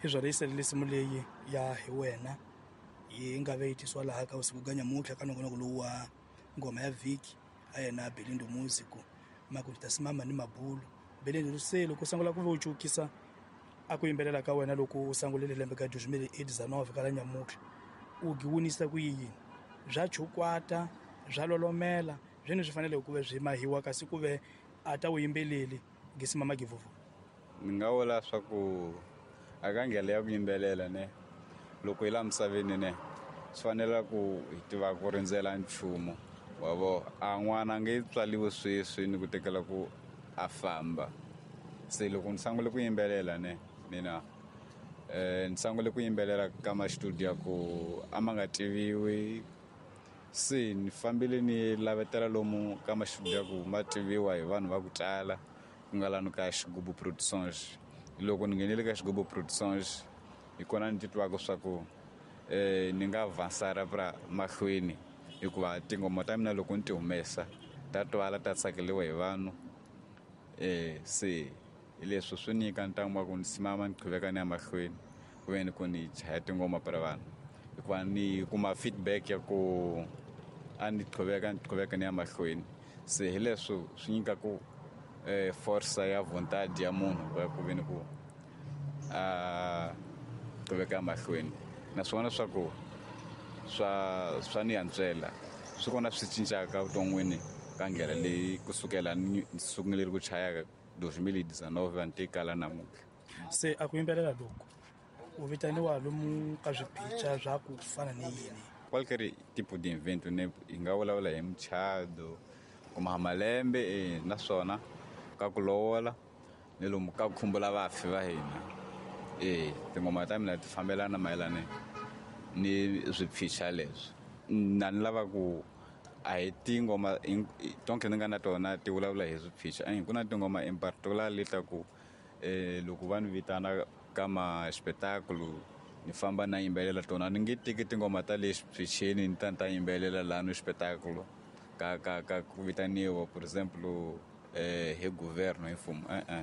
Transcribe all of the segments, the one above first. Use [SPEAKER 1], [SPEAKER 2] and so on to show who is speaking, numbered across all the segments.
[SPEAKER 1] Hi byona yi salele nsimu leyi ya hi wena yi nga ve yi tisiwa laha ka vusiku bya nyamuntlha ka nongonoko lowu wa ngoma ya vhiki a yena Belindo Music makuti simama ni mabulu. Belindo, se loko u sungula ku ve u cukisa a ku yimbelela ka wena loko u sungulile lembe ka 2019 ka la nyamuntlha, u giwunisa ku yini? Bya chukwata, bya lolomela, byini swi fanele ku ve byi mahiwa kasi ku ve a ta wu yimbeleli gisimama givuvu?
[SPEAKER 2] Ni nga vula swa ku a ka ndlela ya ku yimbelela ne, loko hi laha misaveni ne, swi fanela ku hi tiva ku rindzela nchumu wa vo. A n'wana a nge tswaliwi sweswi ni ku tekela ku a famba. Se loko ni sungule ku yimbelela ne, mina ni sungule ku yimbelela ka ma-studio ya ku a ma nga tiviwi. Se ni fambile ni lavetela lomu ka ma-studio ya ku ma tiviwa hi vanhu va ku tala, ku nga lani ka Xigubu Productions. Loko ni nghenile ka Xigubu Productions, hi kona ni titwaka swa ku ni nga avançar pra mahlweni, hikuva tinghoma ta mina loko ni ti humesa ta twala, ta tsakeliwa hi vanhu. Se hi leswi swi nyika ntamu wa ku ni simama ni qhuveka ni ya mahlweni ku ve ni ku ni chaya tinghoma pra vanhu, hikuva ni kuma feedback ya ku a ni qhuveka ni qhuveka ni ya mahlweni. Se hi leswi swi nyika ku force ya vontade ya munhu ya ku ve ni ku a qhuveka mahlweni. Naswona swa ku swa ni antswela, swi kona swi cincaka vuton'wini ka ndlela leyi kusukela ni sungule ku chaya 2019 ni tekala namuntlha.
[SPEAKER 1] Se a ku yimbelela loko u vitaniwa lomu ka swiphica swa ku fana ni yini?
[SPEAKER 2] Qualquer tipo de evento ne, hi nga vulavula hi muchato kuma malembe, naswona ka ku lovola ni lomu ka ku khumbula vafi va hina. Tinghoma ta mina ti fambelana mayelana ni swiphica leswi. Na ni lava ku a hi tinghoma tonke ni nga na tona ti vulavula hi swiphica. Ku na tinghoma in particular leti ta ku loko va ni vitana ka ma spetáculo ni famba na yimbelela tona. Ni nge teki tinghoma ta le xiphicheni ni ta ni ta yimbelela laha no spetáculo ka ku vitaniwa, por exemplo, hi governo, hi mfumo.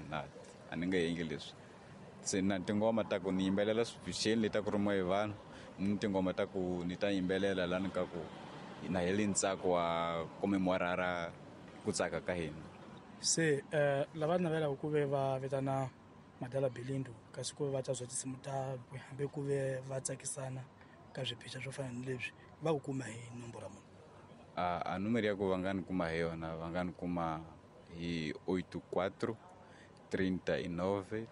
[SPEAKER 2] Na a ni nge endli leswi. Se na tinghoma ta ku ni yimbelela swiphicheni leti ta ku rhumiwa hi vanhu, ni tinghoma ta ku ni ta yimbelela lani ka ku na heli ntsako wa comemorara ku tsaka ka hina.
[SPEAKER 1] Se lava navelaka ku ve va vitana Madala Belindo kasi ku ve va ta zwa tinsimu ta hambi ku ve va tsakisana ka swiphica swo fana ni leswi, va ku kuma hi nomboro muni?
[SPEAKER 2] A numero ya ku va nga ni kuma hi yona, va nga ni kuma hi 84 39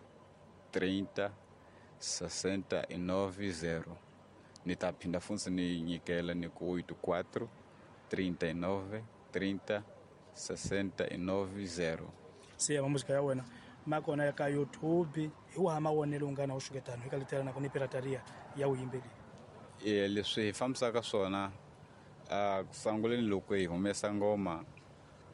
[SPEAKER 2] 30 69 0. Ni ta phinda funtsi ni nyikela ni ku 84 39 30 69 0.
[SPEAKER 1] Se ya muzika ya wena ma kona ka YouTube, hi waha mavonelo u nga na wu xuketano eka letela na ku ni pirataria ya vuyimbeli?
[SPEAKER 2] Leswi hi fambisaka swona, a ku sunguleni loko hi humesa ngoma,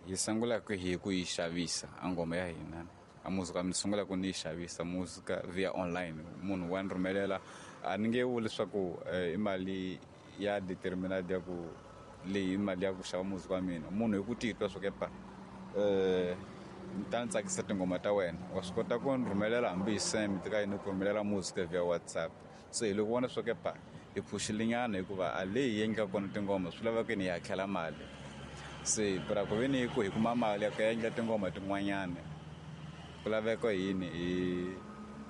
[SPEAKER 2] hi sungula ku hi ku yi xavisa a ngoma ya hina. A muzika ni sungula ku ni yi xavisa muzika via online, munhu wa ni rhumelela. A ni nge vuli leswaku i mali ya determined ya ku leyi i mali ya ku xava muzika wa mina. Munhu hi ku titwa swa ku epa, ni ta ni tsakisa tinghoma ta wena, wa swi kota ku ni rhumelela hambi hi send ka yini, ku rhumelela muzika via WhatsApp. Se hi loko vona swa ku epa hi phuxile nyana, hikuva a leyi hi endlaka kona tinghoma swi lava ku ni hi hakela mali. Se pra ku ve ni ku hi kuma mali ya ku endla tinghoma tin'wanyana, ku laveka yini hi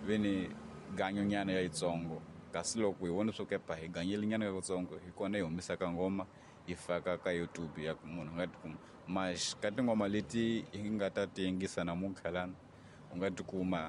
[SPEAKER 2] ve ni ganyo nyana ya yitsongo. Kasi loko hi vona swa ku epa hi ganyile nyana ka kutsongo, hi kona hi humesaka nghoma hi faka ka YouTube ya ku munhu a nga tikuma. Mas ka tinghoma leti hi nga ta ti yingisa namuntlha lana, u nga tikuma.